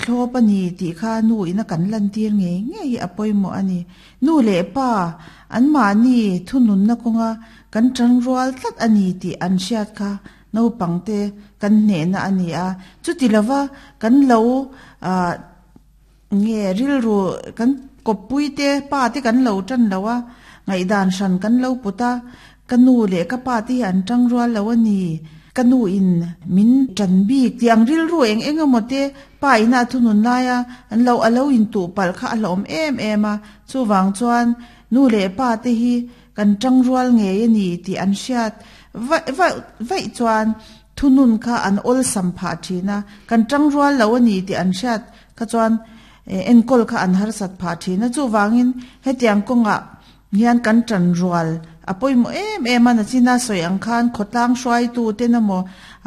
Thlawp a ni tih kha nu ina kan lantir ngei ngei hi a pawimawh a ni. Nu leh pa anmahni thununna kawnga kan tangrual tlat a ni tih an hriat kha naupangte kan hnehna a ni a. Chuti lova kan lo nge rilru kan kawppuite pa te kan lo tan lo a, ngaihdan hran kan lo put a, ka nu leh ka pa te hi an tangrual lo a ni, ka nu in min tan bik tih ang rilru eng eng emaw te pa ina a thunun laia an lo a lo intuh palh kha a hlauhawm em em a, chuvang chuan nu leh pa te hi kan tangrual ngei a ni tih an hriat vaih vaih vaih chuan thunun kha an awlsam phah thin a, kan tangrual lo a ni tih an hriat kha chuan enkawl kha an harsat phah thin a, chuvangin hetiang kawngah hian kan tanrual a pawimawh em em a, nachina sawi ang khan khawtlang hruaitu ten emaw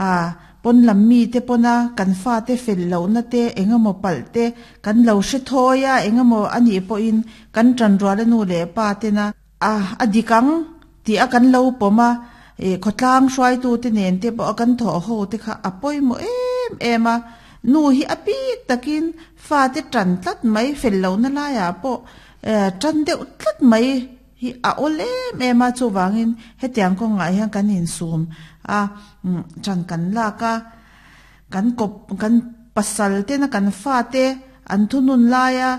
ah pawn lam mite pawna kan fate fel lohna te eng emaw palh te kan lo hre thawi a, eng emaw a nih pawhin kan tanrual a nu leh pa tena A, a dik ang, tih a kan lo pawm a, ih khawtlang hruaitute nen te pawh a kan thawh ho te kha a pawimawh em em a, nu hi a bik takin fate tan tlat mai fel lohna laiah pawh eh tan deuh tlat mai hi a awl em em a, chuvangin hetiang kawngah hian kan insum a, tan kan lak a, kan kawp kan pasal tena kan fate an thunun laia.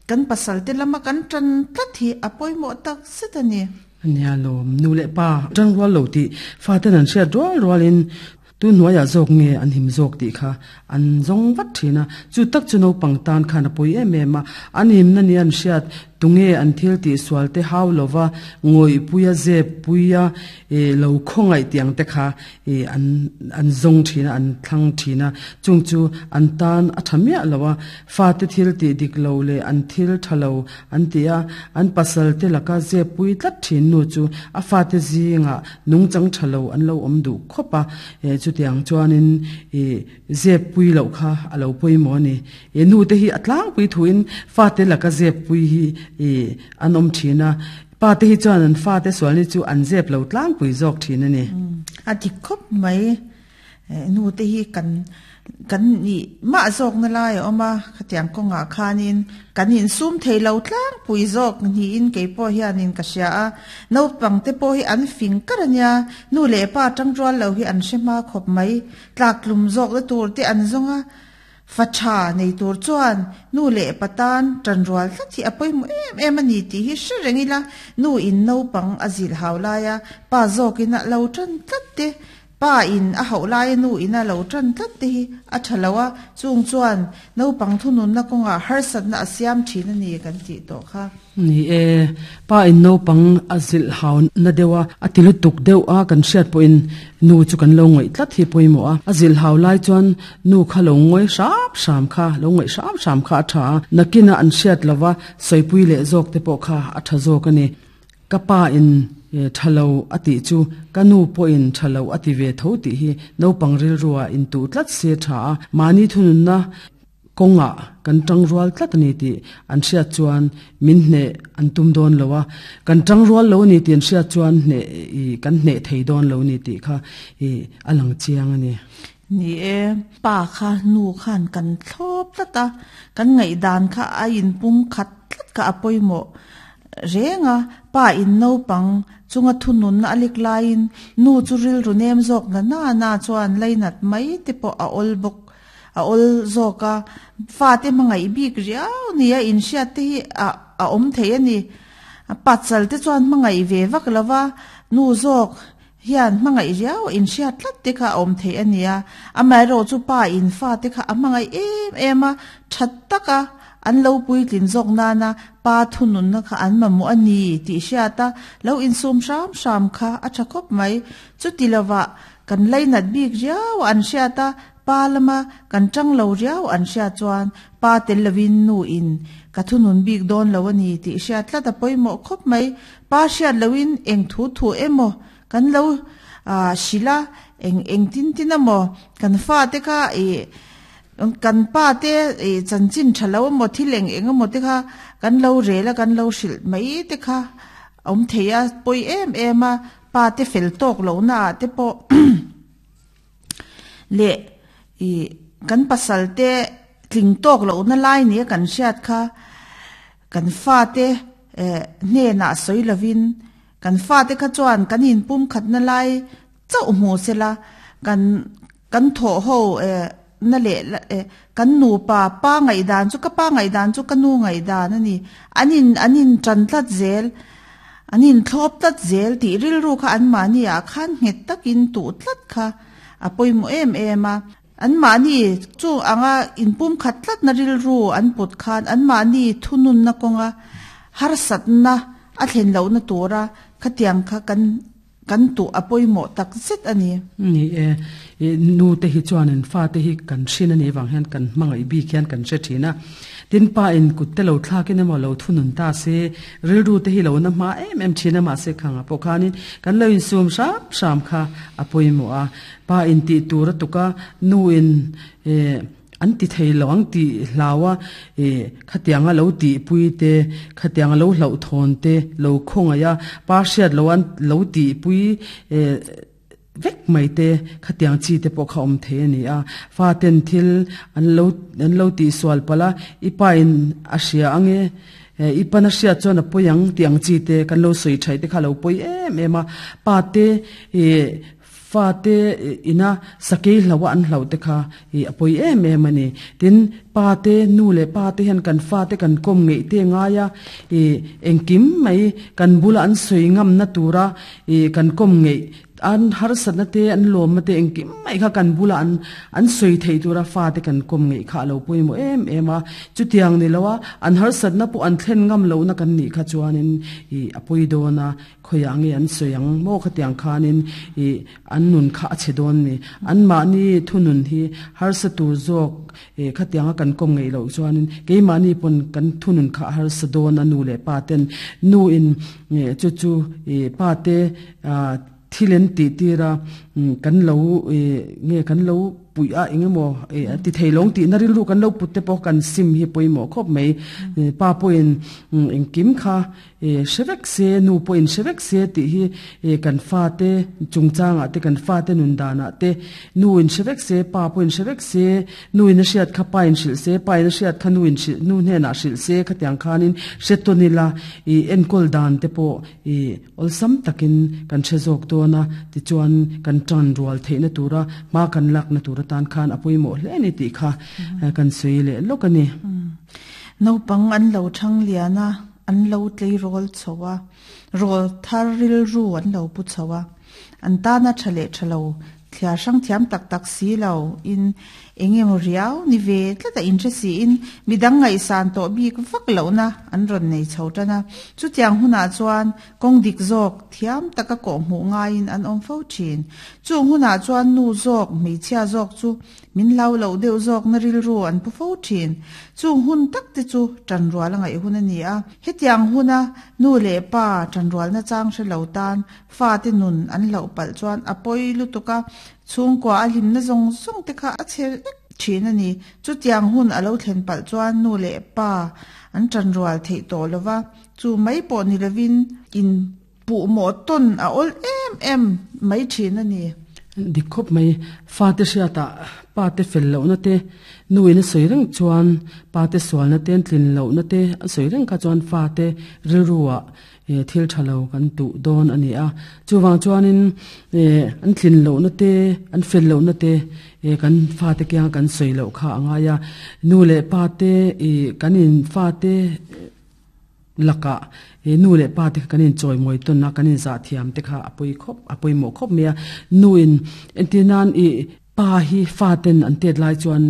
Kan pasal te lama kan tan tlat hi a pawimawh tak zet a ni. A nia lawm, nu leh pa tan rual lo tih faten an hriat rual rualin tun hnuaiah zawk nge an him zawk tih kha an zawng vat thin a. Chu tak chu naupang tan khan a pawi em em a, an himna nia an hriat tunge an thil tih sual te hau lova ngawihpuia zeppuia lo khawngaih tih ang te kha ih an an zawng thin a, an thlang thin a, chung chu an tan a tha miah lo a, fate thil tih dik lo leh an thil tha lo an ti a, an pasal te laka zep pui tlat thin nu chu a fate zingah nungchang tha lo an lo awm duh khawp a, eh chutiang chuanin ih zep pui loh kha a lo pawimawh a ni. Ih nu te hi a tlangpui thuin fate laka zep pui hi ih an awm thin a, Pa te hi chuan an fate sual ni chu an zep lo tlangpui zawk thin a ni. A dik khawp mai. Nu te hi kan kan nih mah zawkna lai a awm a, khatiang kawngah khanin kan insum thei lo tlangpui zawk niin kei pawh hianin ka hria a. Naupang te pawh hi an fing kar a nia, nu leh pa tangrual lo hi an hre hma khawp mai. Tlaktlum zawkna tur te an zawng a. Fa tha nei tur chuan nu leh pa tan tanrual tlat hi a pawimawh em em a ni tih hi hre reng ila, nu in naupang a zilh hau laia pa zawkin a lo tan tlat te, pa in a hauh laia nu in a lo tan tlat te hi a tha lo a, chung chuan naupang thununna kawngah harsatna a siam thin a ni kan tih tawh kha. Ni e, pa in naupang a zilh hau na deuh a, a ti lutuk deuh a kan hriat pawhin nu chu kan lo ngaih tlat hi pawimawh a, a zilh hau lai chuan nu kha lo ngawi hram hram kha, lo ngaih hram hram kha a tha a, nakina an hriat lova sawipui leh zawk te pawh kha a tha zawk a ni. Ka pa in tha lo a tih chu ka nu pawhin tha lo a ti ve tho tih hi naupang rilruah intuh tlat se tha a, mahni thununna Kawngah kan tangrual tlat a ni tih an hriat chuan min hneh an tum dawn lo a, kan tangrual lo a ni tih an hriat chuan hneh i kan hneh thei dawn lo a ni tih kha i a lang chiang a ni. Ni e, pa kha nu khan kan thlawp tlat a, kan ngaihdan kha a inpum khat tlat kha a pawimawh reng a, pa in naupang chunga thununna a lek laiin nu chu rilru nem zawk na na na chuan lainat mai te pawh a awl bawk. A awl zawk a, fate hmangaih bik riau nia inhriat te hi a a awm thei a ni. Patsal te chuan hmangaih ve vak lo va, nu zawk hian hmangaih riau a inhriat tlat te kha a awm thei a nia. Amaherawh chu pa in fate kha a hmangaih em em a, tha taka an lo puitlin zawk nana pa thununna kha an mamawh a ni tih hriat a, lo insum hram hram kha a tha khawp mai. Chuti lovah kan lainat bik riau a an hriat a, Pa lama kan tang lo riau an hriat chuan pa tel lovin nu in ka thunun bik dawn lo a ni tih hriat tlat a pawimawh khawp mai. Pa hriat loin eng thu thu emaw kan lo hrilh a, eng eng tin tin emaw kan fate kha ih kan pa te ih chanchin tha lo emaw thil eng eng emaw te kha kan lo rel a kan lo hrilh mai te kha awm thei a pawi em em a, pa te fel tawk lohna ah te pawh Leh i kan pasal te Tling tawk lohna lai nia kan hriat kha kan fate hnenah sawi lovin kan fate kha chuan kan inpumkhatna lai chauh hmu sela kan kan thawh ho na leh kan nupa pa ngaihdan chu ka pa ngaihdan chu ka nu ngaihdan a ni. An in an in tan tlat zel an in thlawp tlat zel tih rilru kha anmahni ah khan nghet takin tuh tlat kha a pawimawh em em a. Anmahni chu anga inpumkhat tlatna rilru an put khan anmahni thununna kawnga harsatna a thlen lohna tura khatiang kha kan kan tuh a pawimawh tak zet a ni. Ni e, i nu te hi chuanin fa te hi kan hrin a nih vang hian kan hmangaih bik hian kan hre thin a. Tin pa in kut te lo thlakin emaw lo thunun ta se, rilru te hi lo na hma em em thin a mahse khangah pawh khanin kan lo insum hram hram kha a pawimawh a. Pa in tih tur a tuk a, nu in eh an ti thei lo ang tih hlau a, eh khatianga lo tihpui te, khatianga lo hlauhthawn te, lo khawngaih a, pa hriat lo an lo tihpui eh vek mai te, khatiang chi te pawh kha awm thei a ni a. Fa ten thil an lo an lo tihsual palh a, i pa in a hria ang e, I pana hriat chuan a pawi ang tih ang chi te kan lo sawi thaih te kha a lo pawi em em a. Pa te eh Fate ina sakei hlauh a an hlauh te kha i a pawi em em a ni. Tin, pa te, nu leh pa te hian kan fate kan kawm ngeih te ngai a, i engkim mai kan bula an sawi ngamna tura i kan kawm ngeih an harsatna te, an lawmna te engkim mai kha kan bula an an sawi theih tura fate kan kawm ngeih kha a lo pawimawh em em a. Chutiang ni loa an harsatna pawh an thlen ngam lohna kan nih kha chuanin i a pawi dawn a. Khawiah nge an sawi ang maw khatiang khanin ih an nun kha a chhe dawn ni. Anmahni thunun hi harsa tur zawk ih khatianga kan kawm ngeih loh chuanin keimahni pawn kan thunun kha a harsa dawn a nu leh pa ten nu in chu chu ih pa te ah thil an tih tir a kan lo ih nge kan lo puih a eng emaw ih a ti thei lo ang tihna rilru kan lo put te pawh kan sim hi pawimawh khawp mai. Pa pawhin engkim kha E hre vek se, nu pawhin hre vek se tih hi e kan fate chungchangah te, kan fate nun danah te, nu in hre vek se, pa pawhin hre vek se, nu in a hriat kha pa in hrilh se, pa in a hriat kha nu in hrilh, nu hnenah hrilh se khatiang khanin hre tawn ila i enkawl dan te pawh i awlsam takin kan hre zawk dawn a, tichuan kan tan rual theihna tura hma kan lakna tur atan khan a pawimawh hle a ni tih kha kan sawi leh lawk a ni. Naupang an lo thang lian a. An lo tleirawl chho a, rawl thar rilru an lo pu chho a. An tana tha leh tha lo, thliar hrang thiam tak tak si lo in eng emaw riau ni ve tlat a inhre si in midang ngaihsan tawh bik vak lohna an rawn nei chho tan a. Chutiang hunah chuan kawng dik zawk thiam taka kawhhmuh ngaiin an awm fo thin. Chung hunah chuan nu zawk, hmeichhia zawk chu Min hlau loh deuh zawkna rilru an pu fo thin. Chung hun tak te chu tanrual a ngaih hun a ni a. Hetiang huna nu leh pa tanrualna chang hre lo tan fate nun an hlauh palh chuan a pawi lutuk a, chhungkua a hlimna zawng zawng te kha a chhe vek thin a ni. Chutiang hun a lo thlen palh chuan nu leh pa an tanrual theih tawh lo va, chu mai pawh ni lovin in Puhmawh tawn a awl em em mai thin a ni. Dik khawp mai, fate hriatah pate fel lohna te, nuin a sawi reng chuan pate sualna te, an tlin lohna te a sawi reng kha chuan fate rilruah thil tha lo kan tuh dawn a ni a. Chuvang chuanin an tlin lohna te, an fel lohna te kan fate kianga kan sawi loh kha a ngai a. Nu leh pate ih kan in fate Lakah he nu leh pa te kha kan inchawimawi tawn a, kan inzah thiam te kha a pawi khawp, a pawimawh khawp mai a. Nu in entir nan ih pa hi fa ten an tet lai chuan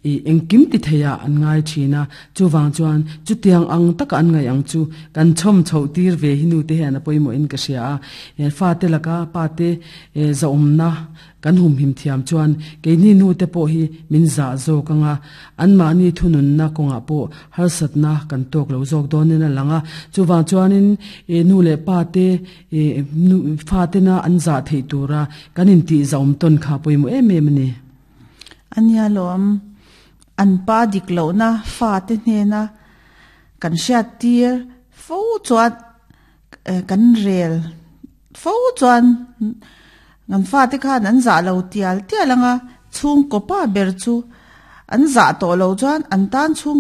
ih engkim ti thei ah an ngai thin a, chuvang chuan chutiang ang taka an ngaih ang chu kan chhawm chhoh tir ve hi nu te hian a pawimawh in ka hria a. Fa te laka pa te zahawmna Kan humhim thiam chuan keini nute pawh hi min zah zawk ang a, anmahni thununna kawngah pawh harsatna kan tawk lo zawk dawnin a lang a. Chuvang chuanin nu leh pa te fatena an zah theih tura kan intih zahawm tawn kha pawimawh em em a ni. A nia lawm, an pa dik lohna fate hnena kan hriattir fo chuan kan rel Fo chuan kan fate khan an zah lo tial tial ang a, chhungkaw pa ber chu An zah tawh loh chuan an tan chhung.